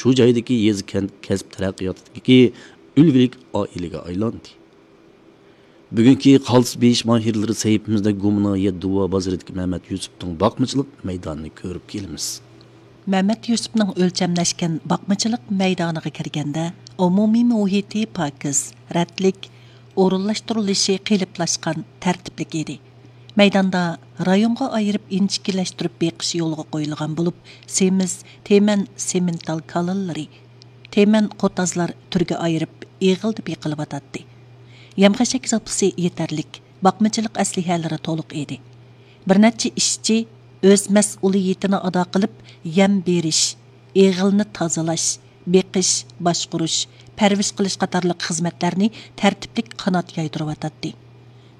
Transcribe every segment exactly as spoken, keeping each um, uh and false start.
شۇ جايدىكى يېزا كەنت كەسىپ تەرەققىياتىدىكى ئۈلگىلىك ئائىلىگە ئايلاندى. بۈگۈنكى قالتىس بېيىش ماھىرلىرى سەھىپىمىزدە گۇمنايە دۇۋا بازىرىدىكى مەمەت يۈسۈپنىڭ باقمىچىلىق مەيدانىنى كۆرۈپ كېلىمىز. مەمەت يۈسۈپنىڭ ئۆلچەملەشكەن باقمىچىلىق مەيدانىغا كىرگەندە، ئومۇمىي مۇھىتى پاكىز، رەتلىك، ئورۇنلاشتۇرۇلۇشى قېلىپلاشقان، تەرتىپلىك ئىدى. مەيداندا رايونغا ئايرىپ ئىنچىكىلەشتۈرۈپ بېقىش يولغا قويۇلغان بولۇپ، سېمىز، تېمەن، سېمېنتال كالىلىرى، تېمەن قوتازلار تۈرگە ئايرىپ ئېغىلدا بېقىلىۋاتاتتى. يەم-خەشەك زاپىسى يېتەرلىك، باقمىچىلىق ئەسلىھەلىرى تولۇق ئىدى. بىر نەچچە ئىشچى ئۆز مەسئۇلىيىتىنى ئادا قىلىپ، يەم بېرىش، ئېغىلنى تازىلاش، بېقىش، باشقۇرۇش، پەرۋىش قىلىش قاتارلىق خىزمەتلەرنى تەرتىپلىك قانات يايدۇرۇۋاتاتتى.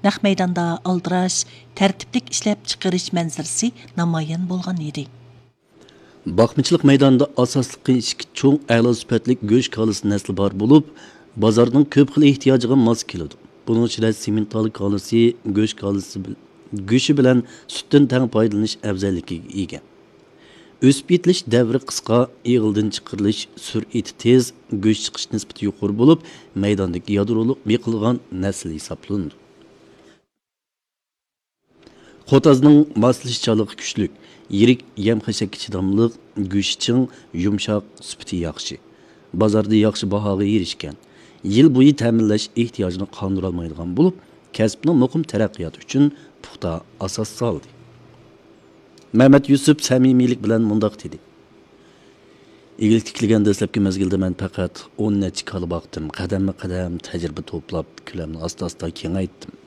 نەق مەيداندا ئالدىراش، تەرتىپلىك ئىشلەپچىقىرىش مەنزىرىسى نامايان بولغان ئىدى. باقمىچىلىق مەيدانىدا ئاساسلىقى ئىككى چوڭ ئەلا سۈپەتلىك گۆش كالىسى نەسلى بار بولۇپ، بازارنىڭ كۆپ خىل ئېھتىياجىغا ماس كېلىدۇ. بۇنىڭ ئىچىدە سېمېنتال كالىسى گۆش كالىسى بىل-، گۆشى بىلەن سۈتتىن تەڭ پايدىلىنىش ئەۋزەللىكىگە ئىگە. ئۆسۈپ يېتىلىش دەۋرى قىسقا، ئېغىلدىن چىقىرىلىش سۈرئىتى تېز، گۆش چىقىش نىسبىتى يۇقىرى بولۇپ، مەيداندىكى يادرولۇق بېقىلغان نەسىل ھېسابلىنىدۇ. قوتازنىڭ ماسلىشىشچانلىقى كۈچلۈك، يىرىك، يەم-خەشەككە چىداملىق، گۆشى چىڭ، يۇمشاق، سۈپىتى ياخشى. بازاردا ياخشى باھاغا ئېرىشكەن. يىل بويى تەمىنلەش ئېھتىياجىنى قاندۇرالمايدىغان بولۇپ، كەسىپنىڭ مۇقىم تەرەققىياتى ئۈچۈن پۇختا ئاساس سالدى. مەمەت يۈسۈپ سەمىمىيلىك بىلەن مۇنداق دېدى: ئىگىلىك تىكلىگەن دەسلەپكى مەزگىلدە مەن پەقەت ئون نەچچە كالا باقتىم، قەدەممۇ قەدەم تەجرىبە توپلاپ، كۆلەمنى ئاستا-ئاستا كېڭەيتتىم.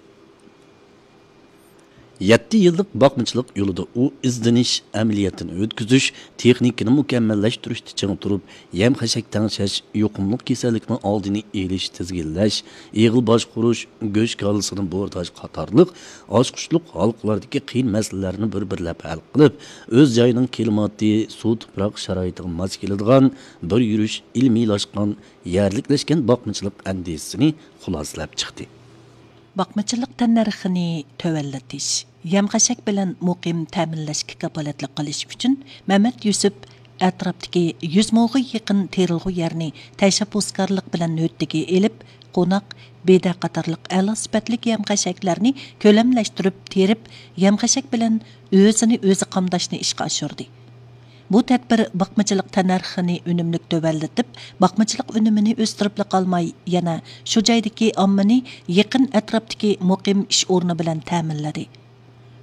يەتتە يىللىق باقمىچىلىق يولىدا ئۇ ئىزدىنىش، ئەمەلىيەتتىن ئۆتكۈزۈش، تېخنىكىنى مۇكەممەللەشتۈرۈشتە چىڭ تۇرۇپ، يەم-خەشەك تەڭشەش، يۇقۇملۇق كېسەللىكنىڭ ئالدىنى ئېلىش، تىزگىنلەش، ئېغىل باشقۇرۇش، گۆش كالىسىنى بورداش قاتارلىق ئاچقۇچلۇق ھالقىلاردىكى قىيىن مەسىلىلەرنى بىر-بىرلەپ ھەل قىلىپ، ئۆز جايىنىڭ كىلىماتى، سۇ-تۇپراق شارائىتىغا ماس كېلىدىغان بىر يۈرۈش ئىلمىيلاشقان، يەرلىكلەشكەن باقمىچىلىق ئەندىزىسىنى خۇلاسىلەپ چىقتى. باقمىچىلىق تەننەرخىنى تۆۋەنلىتىش، يەم-خەشەك بىلەن مۇقىم تەمىنلەشكە كاپالەتلىك قىلىش ئۈچۈن، مەمەت يۈسۈپ ئەتراپتىكى يۈز موغا يېقىن تېرىلغۇ يەرنى تەشەببۇسكارلىق بىلەن ھۆددىگە ئېلىپ، قوناق، بېدە قاتارلىق ئەلا سۈپەتلىك يەم-خەشەكلەرنى كۆلەملەشتۈرۈپ تېرىپ، يەم-خەشەك بىلەن ئۆزىنى ئۆزى قامداشنى ئىشقا ئاشۇردى. بۇ تەدبىر باقمىچىلىق تەننەرخىنى ئۈنۈملۈك تۆۋەنلىتىپ، باقمىچىلىق ئۈنۈمىنى ئۆستۈرۈپلا قالماي، يەنە شۇ جايدىكى ئاممىنى يېقىن ئەتراپتىكى مۇقىم ئىش ئورنى بىلەن تەمىنلىدى.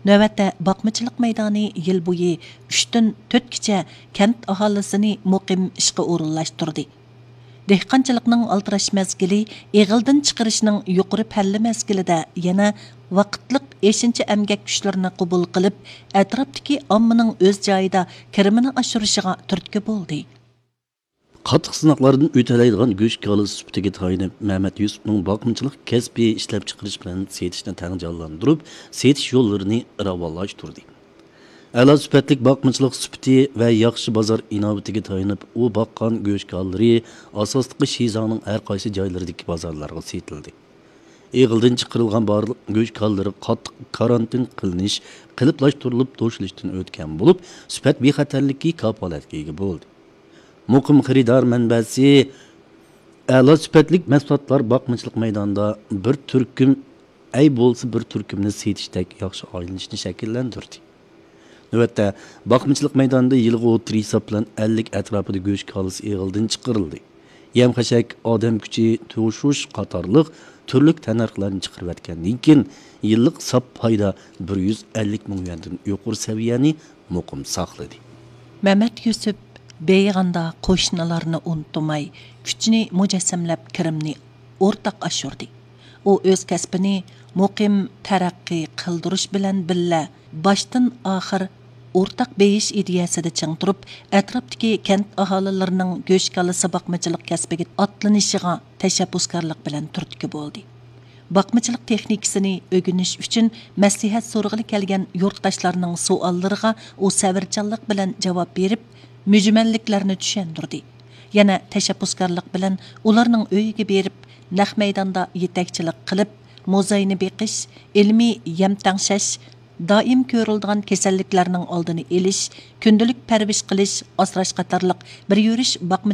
نۆۋەتتە باقمىچىلىق مەيدانى يىل بويى ئۈچتىن تۆتكىچە كەنت ئاھالىسىنى مۇقىم ئىشقا ئورۇنلاشتۇردى. دېھقانچىلىقنىڭ ئالدىراش مەزگىلى، ئېغىلدىن چىقىرىشنىڭ يۇقىرى پەللە مەزگىلىدە يەنە ۋاقىتلىق ئېشىنچا ئەمگەك كۈچلىرىنى قوبۇل قىلىپ، ئەتراپتىكى ئاممىنىڭ ئۆز جايىدا كىرىمىنى ئاشۇرۇشىغا تۈرتكە بولدى. قاتتىق سىناقلاردىن ئۆتەلەيدىغان گۆش كالىسى سۈپىتىگە تايىنىپ، مەمەت يۈسۈپنىڭ باقمىچىلىق كەسپى ئىشلەپچىقىرىش بىلەن سېتىشنى تەڭ جانلاندۇرۇپ، سېتىش يوللىرىنى راۋانلاشتۇردى. ئەلا سۈپەتلىك باقمىچىلىق سۈپىتى ۋە ياخشى بازار ئىناۋىتىگە تايىنىپ، ئۇ باققان گۆش كالىلىرى ئاساسلىقى شىزاڭنىڭ ھەر قايسى جايلىرىدىكى بازارلارغا سېتىلدى. ئېغىلدىن چىقىرىلغان بارلىق گۆش كالىلىرى قاتتىق كارانتىن قىلىنىش، قېلىپلاشتۇرۇلۇپ توشۇلۇشتىن ئۆتكەن بولۇپ، سۈپەت بىخەتەرلىكى كاپالەتكە ئىگە بولدى. مۇقىم خېرىدار مەنبەسى ئەلا سۈپەتلىك مەھسۇلاتلار باقمىچىلىق مەيدانىدا بىر تۈركۈم ئەي بولسا بىر تۈركۈمنى سېتىشتەك ياخشى ئايلىنىشنى شەكىللەندۈردى. نۆۋەتتە، باقمىچىلىق مەيدانىدا يىلغا ئوتتۇرا ھېساب بىلەن ئەللىك ئەتراپىدا گۆش كالىسى ئېغىلدىن چىقىرىلدى. يەم-خەشەك، ئادەم كۈچى، توشۇش قاتارلىق تۈرلۈك تەننەرخلەرنى چىقىرىۋەتكەندىن كېيىن، يىللىق ساپ پايدا بىر يۈز ئەللىك مىڭ يۈەندىن يۇقىرى سەۋىيەنى مۇقىم ساقلىدى. مەمەت يۈسۈپ بېيىغاندا قوشنىلارنى ئۇنتۇماي، كۈچىنى مۇجەسسەملەپ، كىرىمنى ئورتاق ئاشۇردى. ئۇ ئۆز كەسپىنى مۇقىم تەرەققىي قىلدۇرۇش بىلەن بىللە، باشتىن ئاخىر ئورتاق بېيىش ئىدىيەسىدە چىڭ تۇرۇپ، ئەتراپتىكى كەنت ئاھالىلىرىنىڭ گۆش كالىسى باقمىچىلىق كەسپىگە ئاتلىنىشىغا تەشەببۇسكارلىق بىلەن تۈرتكە بولدى. باقمىچىلىق تېخنىكىسىنى ئۆگىنىش ئۈچۈن مەسلىھەت سورىغىلى كەلگەن يۇرتداشلارنىڭ سوئاللىرىغا ئۇ سەۋرچانلىق بىلەن جاۋاب بېرىپ، مۈجمەللىكلەرنى چۈشەندۈردى. يەنە تەشەببۇسكارلىق بىلەن ئۇلارنىڭ ئۆيىگە بېرىپ، نەق مەيداندا يېتەكچىلىك قىلىپ، موزاينى بېقىش، ئىلمىي يەم تەڭشەش، دائىم كۆرۈلىدىغان كېسەللىكلەرنىڭ ئالدىنى ئېلىش، كۈندىلىك پەرۋىش قىلىش، ئاسراش قاتارلىق بىر يۈرۈش باقمىچىلىق